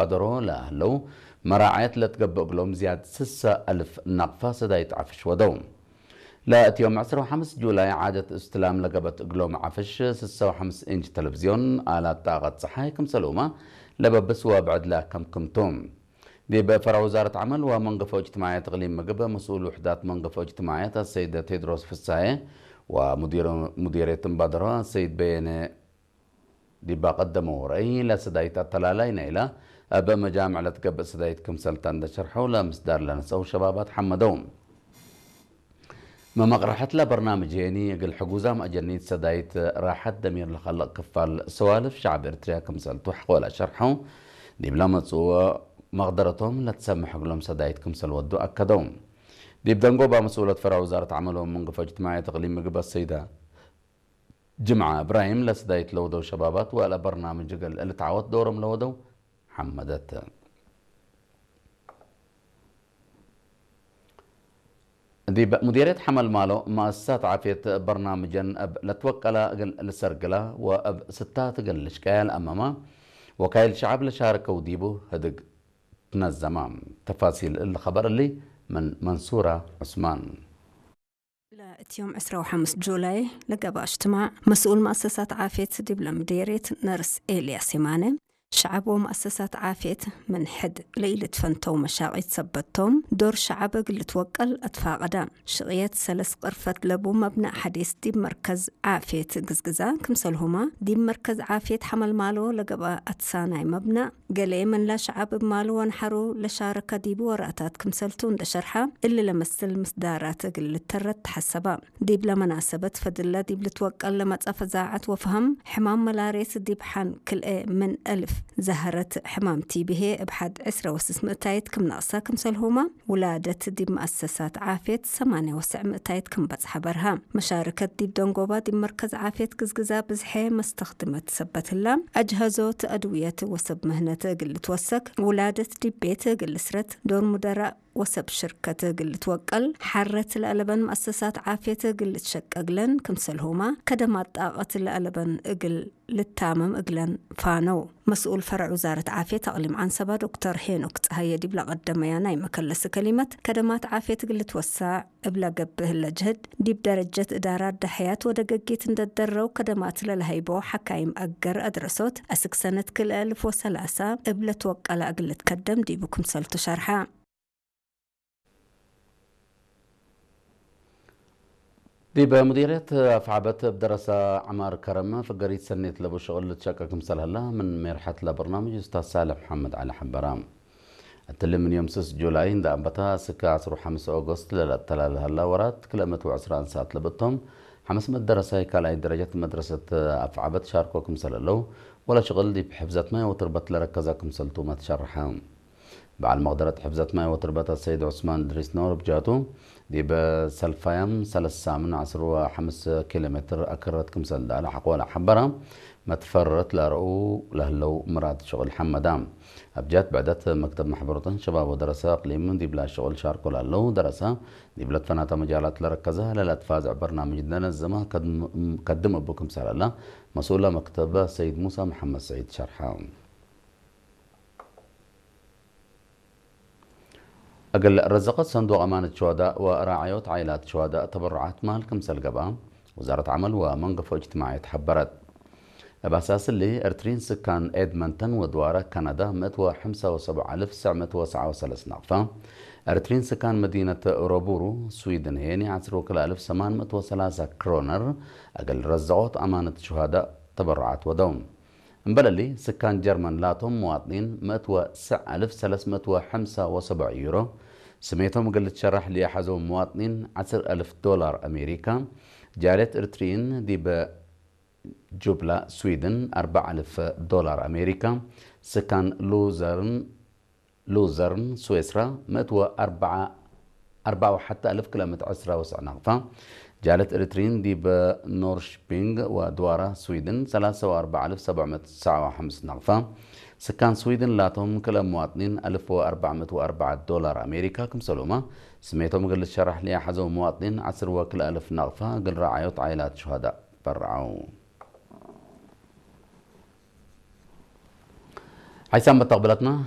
ባደሮ ለህለው መራዓየት ለትገብእ እግሎም ዝያድ ስሳ ኣልፍ ናቕፋ ሰዳይት ዓፍሽ ወደው። ለእትዮም ዕስራ ወሓምስ ጁላይ ዓደት እስትላም ለገበት እግሎም ዓፍሽ ስሳ ወሓምስ ኢንች ተለቪዝዮን ኣላት ጣቐት ፀሓይ ክምሰልኡማ ለበብስ ወብዕድ ለከምክምቱ። ዲብ ፈረዕ ውዛረት ዓመል ወመንገፎ እጅትማዕያት እቅሊም ምግብ መስኡል ውሕዳት መንገፎ እጅትማዕያት ኣሰይድ ቴድሮስ ፍሳየ ወሙዲር-፣ ሙዲርየት እምባደሮ ኣሰይድ በየነ ዲባ ቀደመው ረእይ ለሰዳይት ኣተላላይ ናይላ ኣብ መጃምዕ ለትገብእ ሰዳይት ክምሰልታ እንደሸርሐው ለምስዳር ለነሰው ሸባባት ሓመደው። መመቕረሐት ለበርናምጅ ሄኒ እግል ሕጉዛም ኣጀኒት ሰዳይት ራሓት ደሚር ለኸልቕ ክፋል ሰዋልፍ ሸዓብ ኤርትርያ ክምሰልቱ ሓቆላ ሸርሐው። ዲብ ለመጽዎ መቕደረቶም ለትሰምሕ እግሎም ሰዳይት ክምሰል ወዱ ኣከደው። ዲብ ደንጎባ መስኡለት ፈረዕ ውዛረት ዓመሎም መንገፎ እጅትማዕያት እቅሊም ምግብ ኣሰይዳ ጅምዓ እብራሂም ለስዳይት ለወደው ሸባባት ወለ በርናምጅ እግል ልትዓወት ዶሮም ለወደው ሓመደት። ዲብ ሙዲርየት ሓመል ማሎ መኣሰሳት ዓፍየት በርናምጀን እብ ለትወቀላ እግል ልሰርግላ ወእብ ስታት እግል ልሽቀያ ለኣመማ ወካይል ሸዓብ ለሻርከው ዲቡ ህድግ ትነዘማ። ተፋሲል እሊ ኸበር እሊ ምን መንሱራ ዑስማን። ለእትዮም ዕስራ ወሓምስ ጁላይ ለገባ እጅትማዕ መስኡል መኣሰሳት ዓፍየት ዲብ ለምዴርየት ነርስ ኤልያስ የማነ፣ ሸዓብ ወመኣሰሳት ዓፍየት ምን ሕድ ለኢልትፈንተው መሻቂት ሰበቶም ዶር ሸዓብ እግል ልትወቀል ኣትፋቀዳ። ሽቅየት ሰለስ ቅርፈት ለቡ መብናእ ሓዲስ ዲብ መርከዝ ዓፍየት ግዝግዛ ክምሰልሁማ ዲብ መርከዝ ዓፍየት ሓመልማሎ ለገባ ኣትሳናይ መብናእ ገሌ ምን ለሸዓብ እብ ማሉ ወንሐሩ ለሻረከ ዲቡ ወራታት ክምሰልቱ እንደ ሸርሐ፣ እሊ ለመስል ምስዳራት እግል ልተረት ተሐሰባ። ዲብ ለመናሰበት ፈድለ ዲብ ልትወቀል ለመጸ ፈዛዐት ወፈሀም ሕማም መላሬት ዲብ ሐን ክልኤ ምን እልፍ ዛህረት ሕማም ቲቢሄ እብ ሐድ ዕስረ ወስስ ምእታይት ክም ነቅሰ ክምሰልሁማ፣ ውላደት ዲብ መአሰሳት ዓፍየት ሰማንያ ወሰዕ ምእታይት ክም በጽሐ በርሀ። መሻርከት ዲብ ደንጎባ ዲብ መርከዝ ዓፍየት ግዝግዛ ብዝሐ መስተኽድመት ሰበት ህላ፣ አጅሀዞት አድውየት ወሰብ ምህነት እግል ልትወሰክ፣ ውላደት ዲብ ቤት እግል ልስረት፣ ዶር ሙደራእ ወሰብ ሽርከት እግል ልትወቀል፣ ሐረት ለአለበን መአሰሳት ዓፍየት እግል ልትሸቀግለን ክምሰልሁማ፣ ከደማት ጣቀት ለአለበን እግል ልታመም እግለን ፋነው። መስኡል ፈረዕ ውዛረት ዓፍየት አቅሊም ዐንሰባ ዶክተር ሄኖክ ጸሃየ ዲብ ለቀደመያ ናይ መከለሲ ከሊመት፣ ከደማት ዓፍየት እግል ልትወሳዕ እብ ለገብእ ህለ ጅህድ፣ ዲብ ደረጀት እዳራት ደሐያት ወደገጊት እንደደረው ከደማት ለለሀይቦ ሐካይም አገር አድረሶት፣ አስክ ሰነት ክልኤ እልፍ ወሰላሳ እብ ለትወቀላ እግል ልትከደም ዲቡ ክምሰልቱ ሸርሐ። ዲብ ሙዲርየት አፍዓበት እብ ደረሳ ዐማር ከረም ፍገሪት ሰኔት ለቡ ሽቅል ልትሸቀ ክምሰል ህላ ምን ሜርሐት ለበርናምጅ ኡስታዝ ሳልሕ መሐመድ ዐሊ ሐበራ። እትሊ ምን ዮም ስስ ጁላይ እንደ አንበታ እስከ ዐስሩ ሐምስ ኦጎስት ለለአተላለ ህላ ወራት ክልኤ ምእት ወዕስራ አንሳት ለብእቶም ሐምስ ምእት ደረሳይ ካልኣይ ደረጀት መድረሰት አፍዓበት ሻርኮ ክምሰል ህለው ወለ ሽቅል ዲብ ሕፍዘት ማይ ወትርበት ለረከዛ ክምሰልቱ መትሸርሐ። በዓል መቅደረት ሕፍዘት ማይ ወትርበት አሰይድ ዑስማን እድሪስ ኖር ብጃቱ፣ ዲብ ሰልፋያም ሰለሳ ምን ዐስር ወሐምስ ኪሎ ሜትር አክረት ክምሰል ዳለ ሐቆለ ሐበራ፣ መትፈረት ለረኡ ለህለው ምራድ ሽቅል ሐመዳ። አብጃት ብዕደት መክተብ መሕበሮተን ሸባብ ወደረሰ አቅሊም ዲብላ ሽቅል ሻርኮ ላለው ደረሰ፣ ዲብለ ትፈናተ መጃላት ለረከዘ ለለትፋዘዕ በርናምጅ ደነዘማ ከድም-፣ ከድም እቡ ክምሰል አላ መስኡላ መክተብ ሰይድ ሙሳ መሐመድ ሰዒድ ሸርሐ። እግል ረዘቀት ሰንዱቅ አማነት ሸዋዳእ ወራዓዮት ዓይላት ሸዋዳእ ተበሩዓት ማል ክምሰል ገብአ ውዛረት ዐመል ወመንገፎ እጅትማዕየት ሐበረት። እብ አሳስ እሊ፣ ኤርትሪን ስካን ኤድመንተን ወድዋረ ካናዳ ምእት ወሐምሳ ወሰብዓ አልፍ ትስዕ ምእት ወሰብዓ ወሰለስ ናቅፋ፣ ኤርትሪን ስካን መዲነት ሮቡሩ ስዊድን ሄኒ ዐስር ወክልኤ አልፍ ሰማን ምእት ወሰላሳ ክሮነር እግል ረዘቆት አማነት ሸዋዳእ ተበሩዓት ወደው። እምበለሊ፣ ስካን ጀርመን ላቶም መዋጥኒን ምእት ወትስዕ አልፍ ሰለስ ምእት ወሐምሳ ወሰብዕ ዩሮ፣ ስሜቶም እግል ልትሸራሕ ልያሐዘው መዋጥኒን ዐስር አልፍ ዶላር አሜሪካ፣ ጃልየት እርትሪን ዲበ ጁብላ ስዊድን አርበዕ አልፍ ዶላር አሜሪካ፣ ስካን ሉዘርን ሉዘርን ስዌስራ ምእት ወአርበዓ፣ አርበዓ ወሐተ አልፍ ክልኤ ምእት ዕስራ ወስዕ ናቅፋ፣ ጃለት ኤሪትሪን ዲብ ኖርሽፒንግ ወድዋራ ስዊድን ሰላሳ ወአርበዓ አልፍ ሰብዕ ምእት ትስዓ ወሐምሳ ናቅፋ፣ ስካን ስዊድን ላቶም ክልኤ መዋጥኒን አልፍ ወአርበዕ ምእት ወአርበዓ ዶላር አሜሪካ ክምሰልኡማ፣ ስሜቶም እግል ልትሸራሕ ልያሐዘው መዋጥኒን ዐስር ወክልኤ አልፍ ናቅፋ እግል ረዓዮት ዓይላት ሹሃዳእ በርዐው። ሓይሳም መተቕብለትና